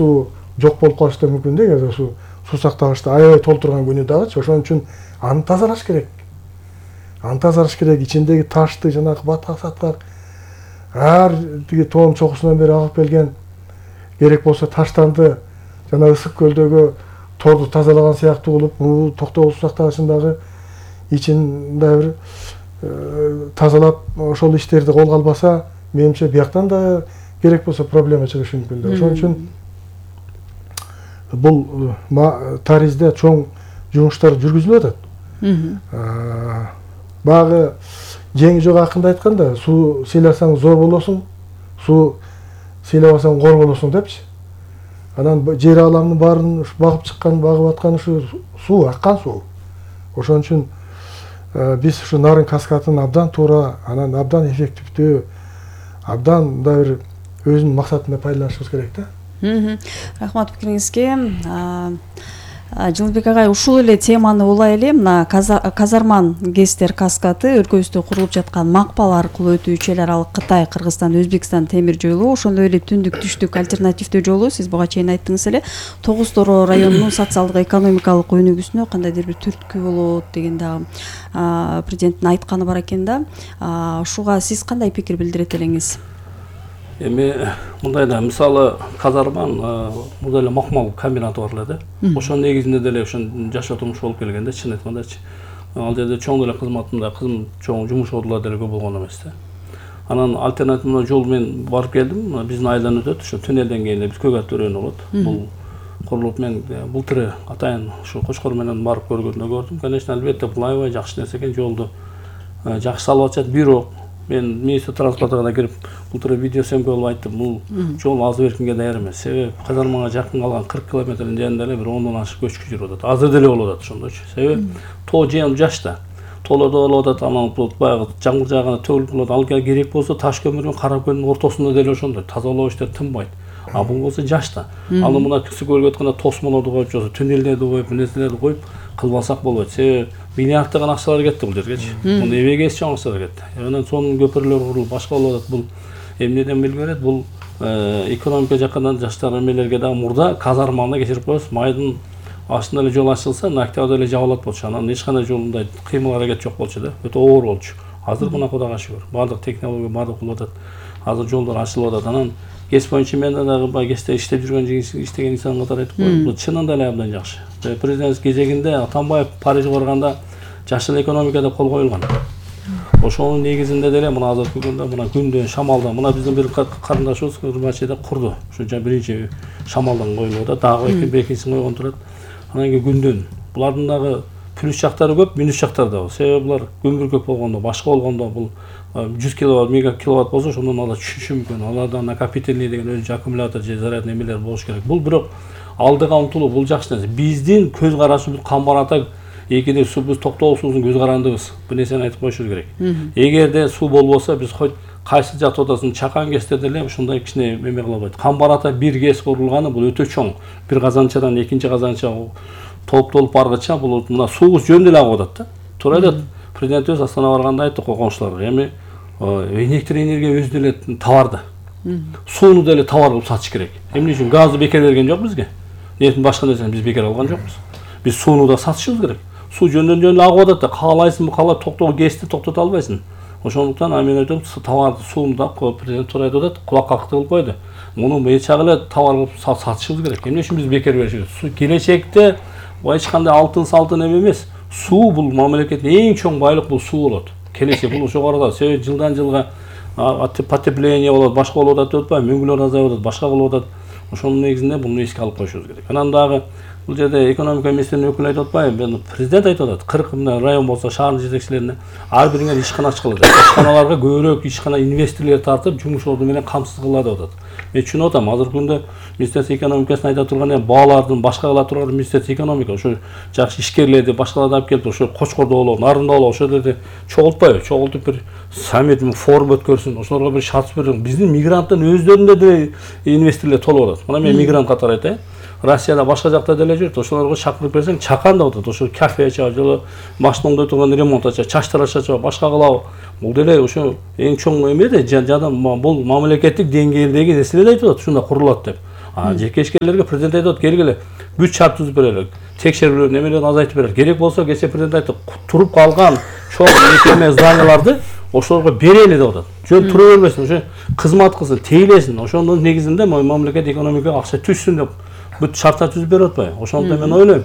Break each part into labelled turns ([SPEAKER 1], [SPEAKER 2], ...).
[SPEAKER 1] суу жок болуп калышы да мүмкүн да, эгер суу сактагычты аябай толтурган күнү дагычы. Ошон үчүн аны тазалаш керек. Аны тазалаш керек. Ичиндеги ташты, жанагы батак-сатак ар тиги тоонун чокусунан бери агып келген, керек болсо таштанды жана ысык көлдөгү торду тазалаган сыяктуу кылып, токтогул суу сактагычындагы ичин да бир тазалап ошол иштерди колго албаса, менимче бияктан да керек болсо проблема чыгышы мүмкүн да. Ошон үчүн бул Таризде чоң жумуштар жүргүзүлүп атат. Багы жеңи жок акында айтканда, суу сыйласаң зор болосуң, суу сыйлабасаң кор болосуң депчи. Анан жер аламдын баарын багып чыккан, багып аткан ушу суу, аккан суу. Ошон үчүн биз ушу Нарын каскадын абдан туура, анан абдан эффективдүү, абдан да бир өзүнүн максатында пайдаланышыбыз керек да.
[SPEAKER 2] Рахмат пикириңизге. Жылбек агай, ушул эле теманы улай эле мына Казарман ГЭСтер каскады өлкөбүздө курулуп жаткан макпал аркылуу өтүүчү эл аралык Кытай, Кыргызстан, Өзбекстан темир жолу, ошондой эле түндүк түштүк альтернативдүү жолу, сиз буга чейин айттыңыз эле, Тогуз Торо районунун социалдык экономикалык өнүгүүсүнө кандайдыр бир түрткү болот деген дагы президенттин айтканы бар экен да. Ушуга сиз кандай пикир билдирет элеңиз?
[SPEAKER 3] Эми мындай да, мисалы Казарман мында эле макмал комбинаты бар эле да. Ошонун негизинде деле ошон жашоо турмуш болуп келгенде, чын айткандачы. Ал жерде чоң деле кызматында чоң жумуш ордулар деле көп болгон эмес да. Анан альтернативный жол менен барып келдим. Биздин айылдан өтөт, ошо туннелден кийин эле Бүткөгат өрөөнү болот. Бул курулуп мен былтыр атайын ушу Кочкор менен барып көргөндө көрдүм. Конечно, албетте бул аябай жакшы нерсе экен, жолду жакшы салып атышат. Бирок мен министр транспортуна да кирип былтыр видео сөмкө болуп айттым, бул жол азыр эркинге даяр эмес. Себеби Казарманга жакын калган 40 километрдин жанында эле бир 10дон ашык көчкү жүрүп атат. Азыр деле болуп атат ошондойчу. Себеби тоо жем жаш да. Тоолордо болуп атат, анан баягы жамгыр жааганда төгүлүп калат. Ал керек болсо таш көмүр менен кара көлдүн ортосунда деле ошондой тазалоо иштери тынбайт. А бул болсо жаш да. Аны мына кысы көлгө өткөндө тосмолорду коюп, жосо туннелдерди коюп, нерселерди коюп кылбасак болбойт. Себеби миллиарддаган акчалар кетти бул жергечи. Муну эбеге чоң акчалар кетти. Анан сонун көпүрлөр курулуп, башка болуп атат. Бул эмнеден белги берет? Бул экономика жакынан жаштар эмелерге дагы мурда Казарманы кечирип коебуз. Майдын астында эле жол ачылса, октябрда эле жабылат болчу. Анан эч кандай жолундай кыймыл аракет жок болчу да. Өтө оор болчу. Азыр мына Кудайга шүгүр. Бардык технология бардык болуп атат. Азыр жолдор ачылып атат. Анан ГЭС боюнча мен дагы ГЭСте иштеп жүргөн иштеген инсан катары айтып коеюн. Бул чынында эле абдан жакшы. Президент кезегинде Атамбаев Парижге барганда жашыл экономика деп кол коюлган. Ошонун негизинде деле мына азыркы күндө мына күндөн шамалдан мына биздин бир карындашыбыз Кырмачыда курду. Ошо биринчи шамалдан коюлуп атат, дагы экинчисин койгон турат. Анан кийин күндөн. Булардын дагы плюс жактары көп, минус жактары да бар. Себеби булар көмүр болгондо, башка болгондо бул 100 киловатт, мега киловатт болсо ошондон алар түшүшү мүмкүн. Аларда накопительный деген өзү аккумулятор же зарядный эмелер болуш керек. Бул бирок алдыга умтулуу, бул жакшы нерсе. Биздин көз карашыбыз Камбар-Ата экиде биз токтогул суубуздун көз карандыбыз. Бул нерсени айтып коюшубуз керек. Эгерде суу болбосо биз хоть кайсы жатып атасын, чакан ГЭСте деле ушундай кичине эме кыла албайт. Камбар-Ата бир ГЭС курулганы бул өтө чоң. Бир казанчадан экинчи казанча толуп баргыча бул мына суубуз жөн деле агып атат да. Туура айтат. Президентибиз Астанага барганда айтты койгончуларга, эми электроэнергия өзү деле товар да. Сууну деле товар кылып сатыш керек. Эмне үчүн газды бекер берген жок бизге? Нетин башка нерсени биз бекер алган жокпуз. Биз сууну да сатышыбыз керек. Суу жөндөн агып атат да, каалайсыңбы, каалап ГЭСти токтото албайсың. Ошондуктан мен айтам, товарды, сууну да президент туура айтып атат, кулак кактык кылып койду. Муну эчак эле товар кылып сатышыбыз керек. Эмне үчүн биз бекер беришибиз? Суу келечекте эч кандай алтын эме эмес. Суу бул мамлекеттин эң чоң байлык, бул суу болот. Келечек бул ошого карата. Себеби жылдан жылга потепление болот, башка болуп атат деп атпайбы, мөңгүлөр азайып атат, башка кылып атат. Ошонун негизинде буну эске алып коюшубуз керек. Анан дагы бул жерде экономика министринин өкүлү айтып атпайбы, президент айтып атат, 40 мындай район болсо шаардын жетекчилерине ар бириңер ишкана ачкыла деп. Ишканаларга көбүрөөк ишкана инвесторлор тартып, жумуш орду менен камсыз кыла деп атат. Мен түшүнүп атам, азыркы күндө Министерство экономикасын айта турган баалардын башка кыла турган Министерство экономика ошо жакшы ишкерлерди башкаларды алып келип ошо Кочкордо болобу, Нарында болобу, ошол жерде чогултпайбы, чогултуп бир саммит, форум өткөрсүн, ошолорго бир шарт берип, биздин мигранттын өздөрүндө деле инвесторлор толуп атат. Мына мен мигрант катары айтайын. Россияда башка жакта деле жүрөт, ошолорго чакырып берсең, чакан да атат, ошо кафе ачабы, же машиноңдой турган ремонт ачабы, чачтар ачабы, башка кылабы. Бул деле ошо эң чоң эме да, жада бул мамлекеттик деңгээлдеги нерселерди айтып атат, ушундай курулат деп. Жеке ишкерлерге президент айтат, келгиле бүт шарт түзүп берелик, текшерүүлөр немелерди азайтып берелик. Керек болсо кечээ президент айтты, туруп калган чоң мекеме зданияларды ошолорго берели деп атат. Жөн тура бербесин, ошо кызмат кылсын, тейлесин. Ошондун негизинде мамлекет экономикага акча түшсүн деп бүт шарттар түзүп берип атпайбы? Ошондуктан мен ойлойм,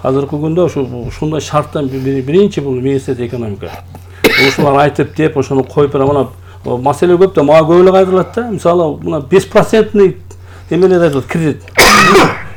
[SPEAKER 3] азыркы күндө ушундай шарттан биринчи бул министрлик экономика. Ошолар айтып деп, ошону коюп бере мына маселе көп да, мага көп эле кайрылат да. Мисалы, мына 5% эмелер айтат, кредит.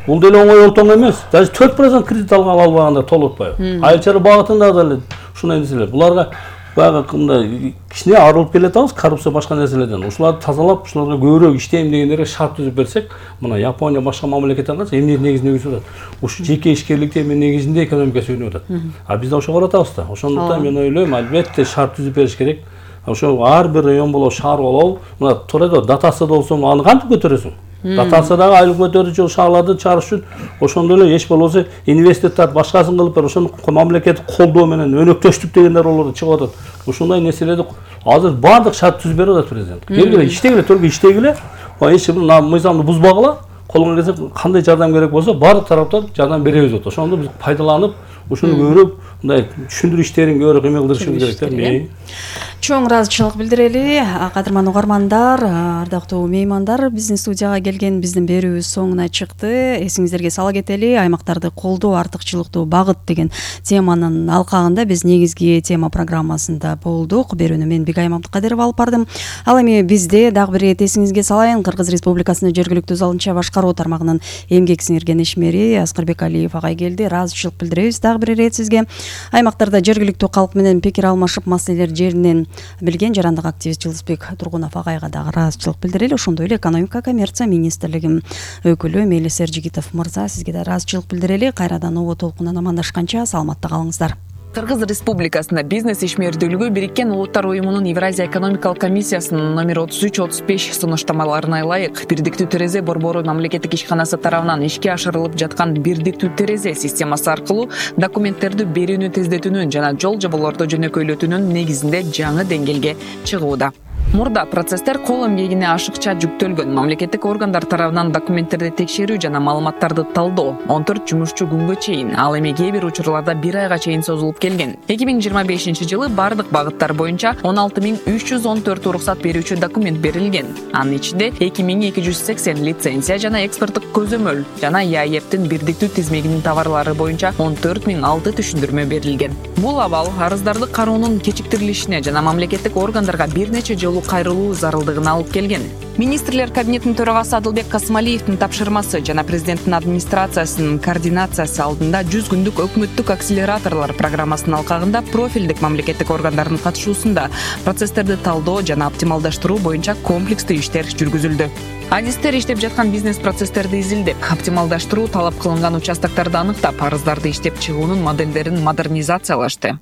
[SPEAKER 3] Бул деле оңой олтоң эмес. Даже 4% кредит албаганда толуп атпайбы? Айыл чарба багытында деле ушундай нерселер. Буларга баягы мындай кичине арылып келатабыз коррупция башка нерселерден. Ушуларды тазалап, ушуларга көбүрөөк иштейм дегендерге шарт түзүп берсек, мына Япония башка мамлекеттерге караса эмне негизинде өсүп атат. Ушу жеке ишкерликте эми негизинде экономика өсүп атат. А бизде ошого каратабыз да. Ошондуктан мен ойлойм, албетте шарт түзүп бериш керек. Ошо ар бир район болобу, шаар болобу, мына туура эле дотация болсо аны кантип көтөрөсүң? Дотациядагы айлык көтөрүүчү шаарларды чыгарыш үчүн ошондой эле эч болбосо инвестордор башкасын кылып бер, ошону мамлекеттик колдоо менен өнөктөштүк дегендер болор чыгып атат. Ушундай нерселерди азыр баардык шарт түзүп берип атат президент. Келгиле иштегиле, төргө иштегиле, эч бир мыйзамды бузбагыла, колуңан келсе кандай жардам керек болсо баардык тараптар жардам беребиз деп атат. Ошондо биз пайдаланып, ушуну көбүрөөк мындай түшүндүрүү иштерин көбүрөөк эме кылдырышыбыз керек.
[SPEAKER 2] Чоң ыраазычылык билдирели. Кадырман угармандар, ардактуу меймандар, биздин студияга келген биздин берүүбүз соңуна чыкты. Эсиңиздерге сала кетели, аймактарды колдоо, артыкчылыктуу багыт деген теманын алкагында биз негизги тема программасында болдук. Берүүнү мен Бигай Мамтыкадырова алып бардым. Ал эми бизде дагы бир ирет эсиңизге салайын, Кыргыз Республикасынын жергиликтүү залынча башкаруу тармагынын эмгек сиңирген ишмери Аскарбек Алиев агай келди. Ыраазычылык билдиребиз дагы бир ирет сизге. Аймактарда жергиликтүү калк менен пикир алмашып, маселелер жеринен билген жарандык активист Жылысбек Тургунов агайга дагы ыраазычылык билдирели. Ошондой эле экономика коммерция министрлиги өкүлү Мелис Эржигитов мырза, сизге да ыраазычылык билдирели. Кайрадан обо толкунан амандашканча саламатта калыңыздар.
[SPEAKER 4] Кыргыз Республикасында бизнес ишмердүүлүгү Бириккен Улуттар Уюмунун Евразия экономикалык комиссиясынын номер 33-35 сунуштамаларына ылайык бирдиктүү терезе борбору мамлекеттик ишканасы тарабынан ишке ашырылып жаткан бирдиктүү терезе системасы аркылуу документтерди берүүнү тездетүүнүн жана жол жоболорду жөнөкөйлөтүүнүн негизинде жаңы деңгээлге чыгууда. Мурда процесстер кол эмгегине ашыкча жүктөлгөн. Мамлекеттик органдар тарабынан документтерди текшерүү жана маалыматтарды талдоо 14 жумушчу күнгө чейин, ал эми кээ бир учурларда 1 айга чейин созулуп келген. 2025-жылы бардык багыттар боюнча 16314 уруксат берүүчү документ берилген. Анын ичинде 2280 лицензия жана экспорттук көзөмөл жана ЯЭПтин бирдиктүү тизмегинин товарлары боюнча 14006 түшүндүрмө берилген. Бул абал арыздарды кароонун кечиктирилишине жана мамлекеттик органдарга бир нече жолу кайрылуу зарылдыгына алып келген. Министрлер кабинетинин төрагасы Адылбек Касымалиевдин тапшырмасы жана президенттин администрациясынын координациясы алдында 100 күндүк өкмөттүк акселераторлор программасынын алкагында профилдик мамлекеттик органдардын катышуусунда процесстерди талдоо жана оптималдаштыруу боюнча комплекстүү иштер жүргүзүлдү. Адистер иштеп жаткан бизнес процесстерди изилдеп, оптималдаштыруу талап кылынган участокторду аныктап, арыздарды иштеп чыгуунун модельдерин модернизациялашты.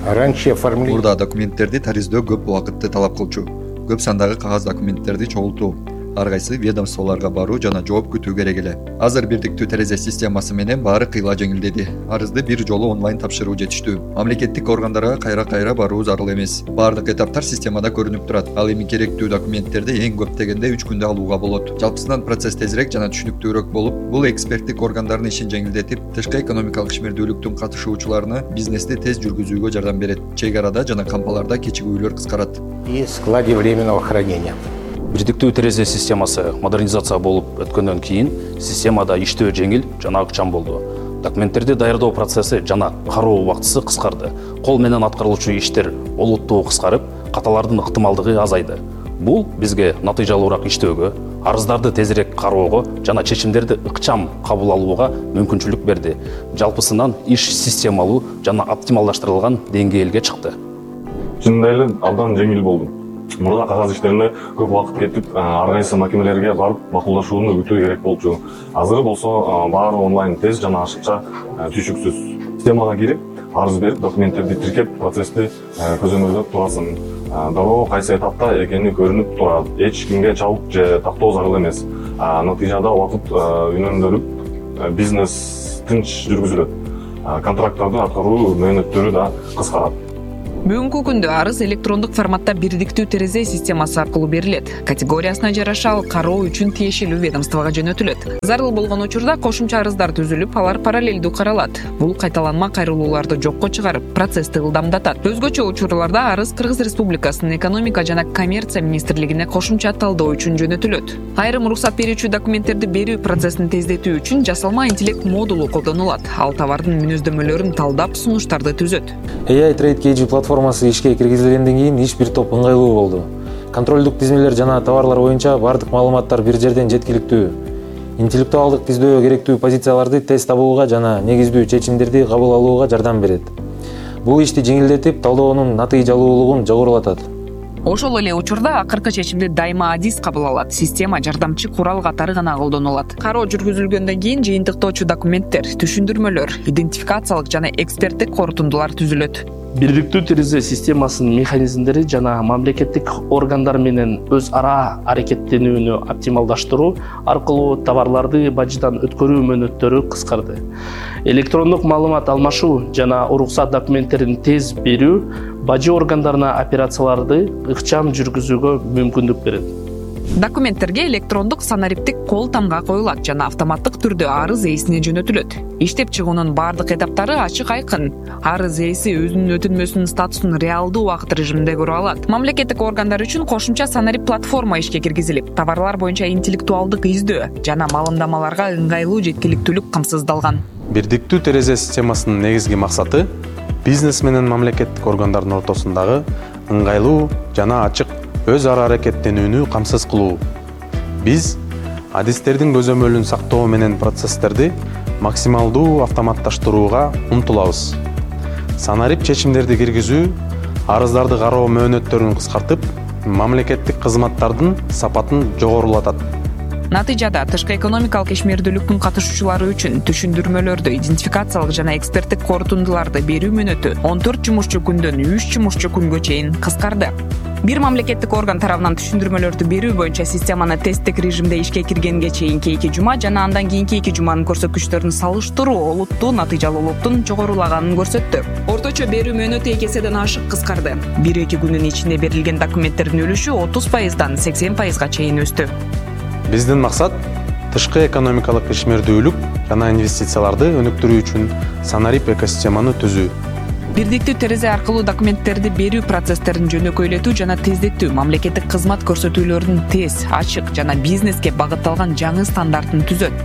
[SPEAKER 5] Мурда документтерди тариздөө көп убакытты талап кылчу. Көп сандагы кагаз документтерди чогултуу, ар кайсы ведомстволорго баруу жана жооп күтүү керек эле. Азыр бирдиктүү терезе системасы менен баары кыйла жеңилдеди. Арызды бир жолу онлайн тапшыруу жетиштүү. Мамлекеттик органдарга кайра баруу зарыл эмес. Баардык эtaптар системада көрүнүп турат. Ал эми керектүү документтерди эң көп дегенде 3 күндө алууга болот. Жалпысынан процесс тезирээк жана түшүнүктүүрөөк болуп, бул эксперттик органдардын ишин жеңилдетип, тышкы экономикалык ишмердүүлүктүн катышуучуларына бизнести тез жүргүзүүгө жардам берет. Чек арада жана кампаларда кечигүүлөр кыскарат.
[SPEAKER 6] И складе временного хранения.
[SPEAKER 7] Бирдиктүү терезе системасы модернизация болуп өткөндөн кийин системада иштөө жеңил жана ыкчам болду. Документтерди даярдоо процесси жана кароо убактысы кыскарды. Кол менен аткарылуучу иштер олуттуу кыскарып, каталардын ыктымалдыгы азайды. Бул бизге натыйжалуураак иштөөгө, арыздарды тезирээк кароого жана чечимдерди ыкчам кабыл алууга мүмкүнчүлүк берди. Жалпысынан иш системалуу жана оптималдаштырылган деңгээлге чыкты.
[SPEAKER 8] Чындап эле абдан жеңил болду. Мурда кагаз иштерине көп убакыт кетип, ар кайсы макемелерге барып макулдашууну күтүү керек болчу. Азыр болсо баары онлайн тез жана ашыкча, түшүксүз. Системага кирип, арыз берип, документтерди тиркеп, процессти көзөмөлдөп турасың. Дароо кайсы этапта экени көрүнүп турат. Эч кимге чабык же тактоо зарыл эмес. Натыйжада убакыт үнөмдөрүп, бизнес тынч жүргүзүлөт. Контракттарды аткаруу мөөнөттөрү да кыскарат.
[SPEAKER 4] Бүгүнкү күндө арыз электрондук форматта бирдиктүү терезе системасы аркылуу берилет. Категориясына жараша ал кароо үчүн тиешелүү ведомствого жөнөтүлөт. Зарыл болгон учурда кошумча арыздар түзүлүп, алар параллелдүү каралат. Бул кайталанма кайрылууларды жокко чыгарып, процессти ылдамдатат. Өзгөчө учурларда арыз Кыргыз Республикасынын экономика жана коммерция министрлигине кошумча талдоо үчүн жөнөтүлөт. Айрым уруксат берүүчү документтерди берүү процессин тездетүү үчүн жасалма интеллект модулу колдонулат. Ал товардын мүнөздөмөлөрүн талдап, сунуштарды түзөт.
[SPEAKER 9] AI Trade KG платформасы ишке киргизилгенден кийин иш бир топ ыңгайлуу болду. Контролдук тизмелер жана товарлар боюнча бардык маалыматтар бир жерден жеткиликтүү. Интеллектуалдык тиздөө керектүү позицияларды тез табууга жана негиздүү чечимдерди кабыл алууга жардам берет. Бул ишти жеңилдетип, талдоонун натыйжалуулугун жогорулатат.
[SPEAKER 4] Ошол эле учурда акыркы чечимди дайыма адис кабыл алат. Система жардамчы курал катары гана колдонулат. Кароо жүргүзүлгөндөн кийин жыйынтыктоочу документтер, түшүндүрмөлөр, идентификациялык жана эксперттик корутундулар түзүлөт.
[SPEAKER 3] Бирдиктүү терезе системасынын механизмдери жана мамлекеттик органдар менен өз ара аракеттенүүнү оптималдаштыруу аркылуу товарларды бажыдан өткөрүү мөөнөттөрү кыскарды. Электрондук маалымат алмашуу жана уруксат документтерин тез берүү бажы органдарына операцияларды ыкчам жүргүзүүгө мүмкүндүк берет.
[SPEAKER 4] Документтерге электрондук санариптик кол тамга коюлат жана автоматтык түрдө арыз ээсине жөнөтүлөт. Иштеп чыгуунун бардык этаптары ачык айкын. Арыз ээси өзүнүн өтүнмөсүнүн статусун реалдуу убакыт режиминде көрө алат. Мамлекеттик органдар үчүн кошумча санарип платформа ишке киргизилип, товарлар боюнча интеллектуалдык издөө жана маалымдамаларга ыңгайлуу жеткиликтүүлүк камсыздалган.
[SPEAKER 10] Бирдиктүү терезе системасынын негизги максаты бизнес менен мамлекеттик органдардын ортосундагы ыңгайлуу жана ачык өз ара аракеттенүүнү камсыз кылуу. Биз адистердин көзөмөлүн сактоо менен процесстерди максималдуу автоматташтырууга умтулабыз. Санарип чечимдерди киргизүү арыздарды кароо мөөнөттөрүн кыскартып, мамлекеттик кызматтардын сапатын жогорулатат.
[SPEAKER 4] Натыйжада тышкы экономикалык ишмердүүлүктүн катышуучулары үчүн түшүндүрмөлөрдү, идентификациялык жана эксперттик корутундуларды берүү мөөнөтү 14 жумушчу күндөн 3 жумушчу күнгө чейин кыскарды. Бир мамлекеттик орган тарабынан түшүндүрмөлөрдү берүү боюнча системаны тесттик режимде ишке киргенге чейинки 2 жума жана андан кийинки 2 жуманын көрсөткүчтөрүн салыштыруу олуттуу натыйжалуулуктун жогорулаганын көрсөттү. Орточо берүү мөөнөтү 2 эседен ашык кыскарды. 1-2 күнүн ичинде берилген документтердин үлүшү 30%дан 80%га чейин өстү.
[SPEAKER 10] Биздин максат тышкы экономикалык ишмердүүлүк жана инвестицияларды өнүктүрүү үчүн санарип экосистеманы түзүү.
[SPEAKER 4] Бирдиктүү терезе аркылуу документтерди берүү процесстерин жөнөкөйлөтүү жана тездетүү, мамлекеттик кызмат көрсөтүүлөрүнүн тез, ачык жана бизнеске багытталган жаңы стандартын түзөт.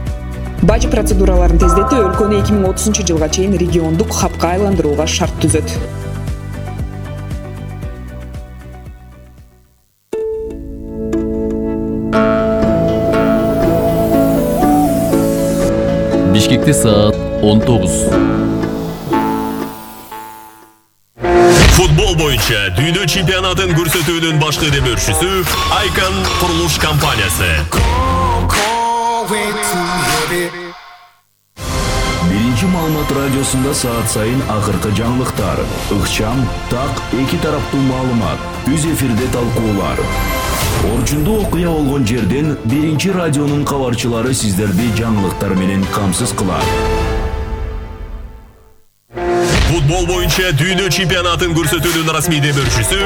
[SPEAKER 4] Бажы процедураларын тездетүү өлкөнү 2030-жылга чейин региондук хабка айландырууга шарт түзөт.
[SPEAKER 11] Бишкекте саат 19.
[SPEAKER 12] Футбол боюнча дүйнө чемпионатын көрсөтүүнүн башкы демөөрчүсү Icon курулуш компаниясы.
[SPEAKER 11] Биринчи маалымат радиосунда саат сайын акыркы жаңылыктар, ыкчам, так, эки тараптуу маалымат, үз эфирде талкуулар. Орчундуу окуя болгон жерден биринчи радионун кабарчылары сиздерди жаңылыктар менен камсыз кылат.
[SPEAKER 12] Футбол боюнча дүйнө чемпионатын көрсөтүүнүн расмий демөөрчүсү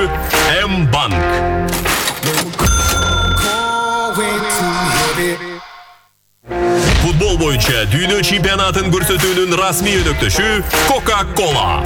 [SPEAKER 12] М-банк. Футбол боюнча дүйнө чемпионатын көрсөтүүнүн расмий өнөктөшү Coca-Cola.